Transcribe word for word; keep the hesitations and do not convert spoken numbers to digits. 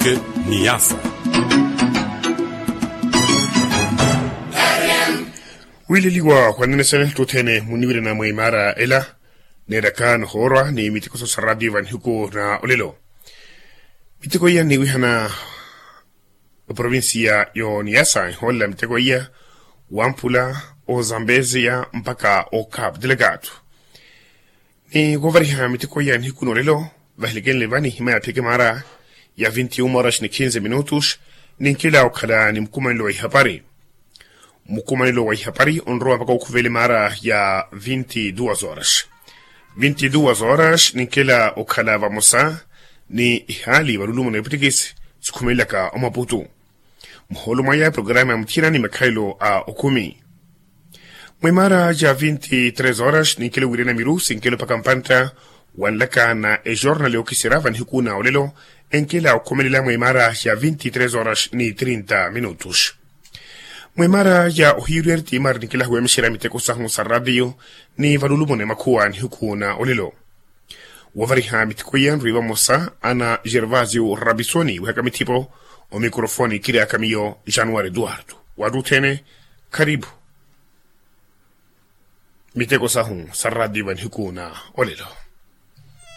Niasa. Wiileliwa khwanene sene ttuthene muniwirana mwa imaara ela. Neeraka nohoorwa ni miteko sosa radio va nihiku na olelo. Miteko iya nniwihana oprovinsiya yo niasa ehoolela miteko iya wamphula ozambeziya mpakha okhaputela kaathu. Ni woovariha miteko iya nihiku n'olelo vahelekenle vani hima ya pheke maara ya vinti uma horas ni kinze minutos. Ninkela okhala ni mukumanelo wa ihapari. Mukumanelo wa ihapari onrowa mpakha okhuvele maara ya vinti duas horas. Vinti duas horas ninkela okhala vamosa ni ihaali valulumo na epwitikisi sikhumelelaka omaputu. Muhoolo mwaya programa ya muthina ni makhalelo a okhumi. Mwimaara ja vinti tres horas ninkela owiirana miru sinkela opaka mpantta. Wanlaka na ejornal yookisera vanihiku na olelo enkela okhomelela mwimaara ja vinti tres horas ni trinta minutos. Mwimaara ja ohiiru ya ritiimari ninkela huwemexera miteko sahu sa radio ni valulumo na emakhuwa nihiku na olelo. Wovariha miteko iya nrwi vamosa ana gervasio rabisoni wihaka mithipo. Omikrofoni kiriaka miyo januari eduardo. Wattu othene kharipu. Miteko sahu sa radio vanihiku na olelo.